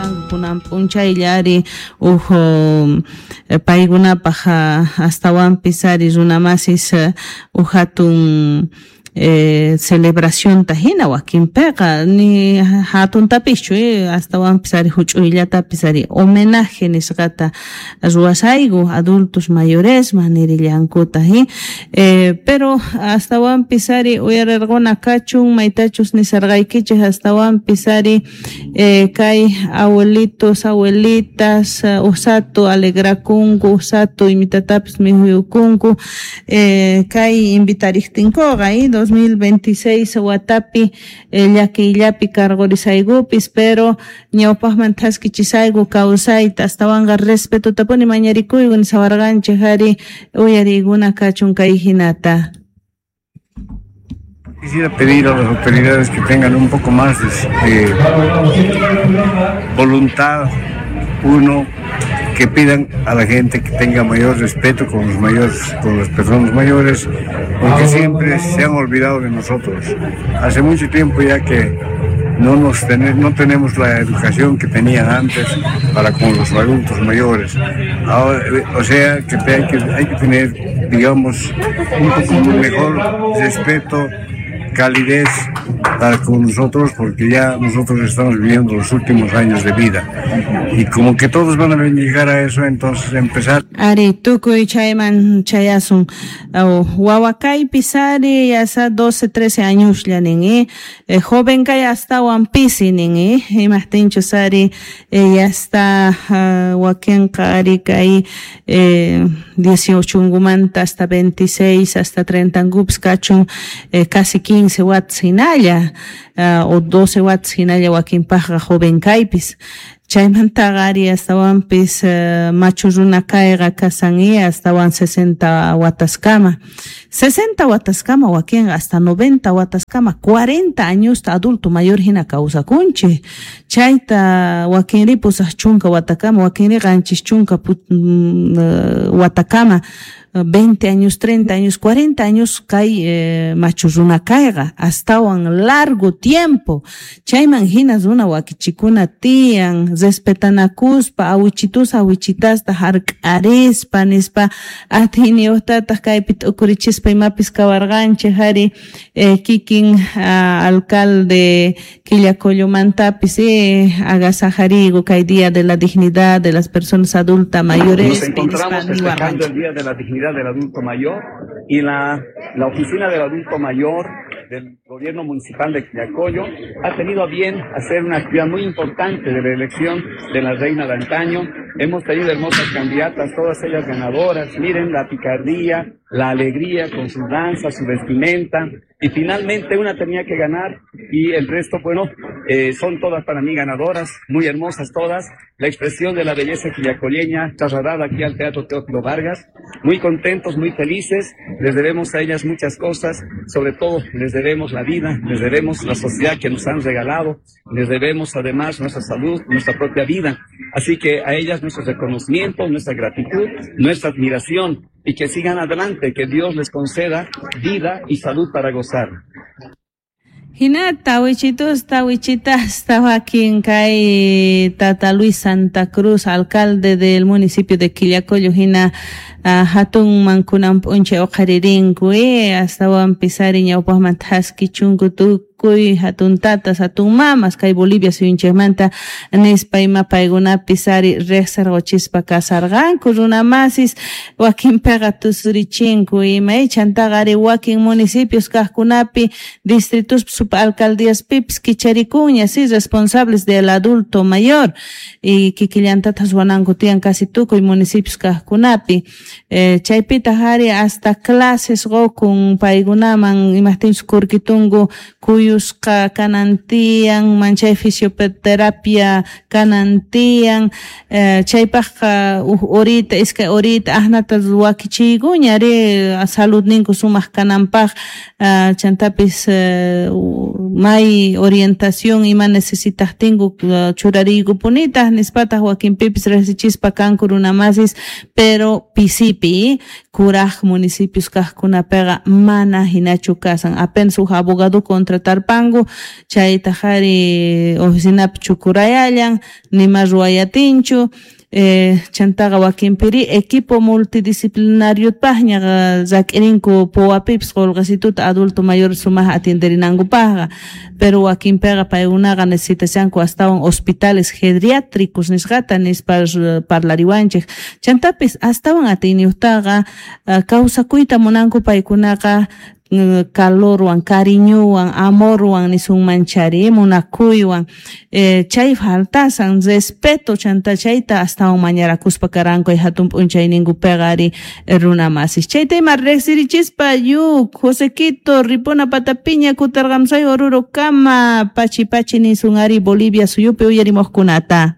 Kanku kunan p'unchaylla ari uj paykunapaj astawanpis ari runamasis uj hatun celebracionta hina wakinpiqa ni hatuntapischu astawanpis ari huch'uyllatapis ari homenaje nisqata ruwasayku adultos mayoresman nirillankuta pero astawanpis ari uyarirquna kachun maytachus nisarqaykichik astawanpis ari kay abuelitos abuelitas usatu alegrakunku usatu imitatapis mikhuyukunku kay invitariqtinkuqa 2026 watapi llakiyllapi karqurisaykupis pero ñawpaqman thaskichisayku kawsayta astawanqa respetotapuni mañarikuyku nisawarqanchik ari uyariykuna kachun kay hinata. Quisiera pedir a las autoridades que tengan un poco más de voluntad, uno, que pidan a la gente que tenga mayor respeto con los mayores, con las personas mayores, porque siempre se han olvidado de nosotros. Hace mucho tiempo ya que no tenemos la educación que tenían antes para con los adultos mayores. Ahora, o sea que hay que tener, digamos, un poco mejor respeto, calidez para con nosotros, porque ya nosotros estamos viviendo los últimos años de vida y como que todos van a llegar a eso, entonces empezar. Ari tukuy chayman chayasun wawakaypis ari yasa 12, 13 añoslla nin joven kay astawan pisi nin imajtinchus ari ya está wakinqa ari kay 18 hasta 26 hasta 30 ngupis kachun casi 15 watts hinalla o 12 watts hinalla wakinpajqa joven kaypis. Chaymantaqa ari astawanpis machu runa kayqa kasan astawan 60 wataskama. 60 wataskama wakinqa hasta 90 wataskama 40 añosta adulto mayor hina kawsakunchik. Chayta wakinri pusaq chunka watakama, wakinri qanchis chunka watakama, 20 años, 30 años, 40 años kay machu runa kayqa astawan largo tiempo. Chayman hina runa wakichikuna tiyan respetanakuspa awichitus awichitasta hark'arispa nispa atiyniyuqtataq kaypi t'ukurichispa imapis kawarqanchik ari kikin alcalde Quillacollomantapis agasajarigo kay Día de la Dignidad de las Personas Adultas Mayores. Nos encontramos festejando el Día de la Dignidad del Adulto Mayor y la Oficina del Adulto Mayor del Gobierno Municipal de Quillacollo ha tenido a bien hacer una actividad muy importante de la elección de la reina de antaño. Hemos tenido hermosas candidatas, todas ellas ganadoras. Miren la picardía, la alegría con su danza, su vestimenta. Y finalmente una tenía que ganar y el resto, bueno, son todas para mí ganadoras, muy hermosas todas. La expresión de la belleza quillacolleña trasladada aquí al Teatro Teófilo Vargas. Muy contentos, muy felices. Les debemos a ellas muchas cosas. Sobre todo les debemos la vida, les debemos la sociedad que nos han regalado, les debemos además nuestra salud, nuestra propia vida. Así que a ellas nuestro reconocimiento, nuestra gratitud, nuestra admiración y que sigan adelante, que Dios les conceda vida y salud para gozar. Hinata wichitus tawichitas tawakin kay Tata Luis Santa Cruz, alcalde del municipio de Quillacollo, hina hatun mankunan p'unchay uqharirinku astawan pisari ñawpaqman thaskichunku tukuy hatun tatas hatun mamas kay Bolivia suyunchikmanta nispa ima paykunapis ari riqsirquchispa kasarqanku runamasis wakinpiqa tusurichinku ima chantaqa ari wakin municipios kaqkunapi distritos subalcaldíaspipis kicharikunña si responsables del adulto mayor y kikillantatas ruwananku tiyan casi tukuy municipios kaqkunapi chaypitaq ari hasta clases qukun paykunaman imajtinchus kurkitunku kuyusqa kanan tiyan manchay fisioterapia kanan tiyan chaypaqqa uj horita iskay horita asnata wakichiykuña ari saludninku sumaq kananpaq chantapis may orientación ima necesitaqtinku churariykupunitaq nispataq wakinpipis riqsichispa kanku runamasis pero pisipi kuraq municipios kaqkunapiqa mana hinachu kasan apenas uj abogado contratar Mandarpanku, chaytaj ari oficinapi chukurayallan, nima ruwayatinchu. Chantaqa wakinpiri equipo multidisciplinariopajña rak'irinku powapipis qolqesituta adulto mayor sumaj atienderinankupajqa, pero wakinpiqa paykunaqa necesitashanku astawan hospitales geriátricos nisqata nispa parlariwanchej. Chantapis astawan atiyniyuqtaqa kawsakuyta munanku paykunaqa calorwan, cariñowan, amorwan nisunman chari, munakuywan, chay faltasan respeto chanta chayta astawan mañarakuspa karanku ay hatun p'unchayninkupiqa ari runa masis. Chayta ima riqsirichispa yuk Josequito ripuna patapiña kutarqamsay Oruro kama pachi pachi nisun ari Bolivia suyupi uyarimuqkunata.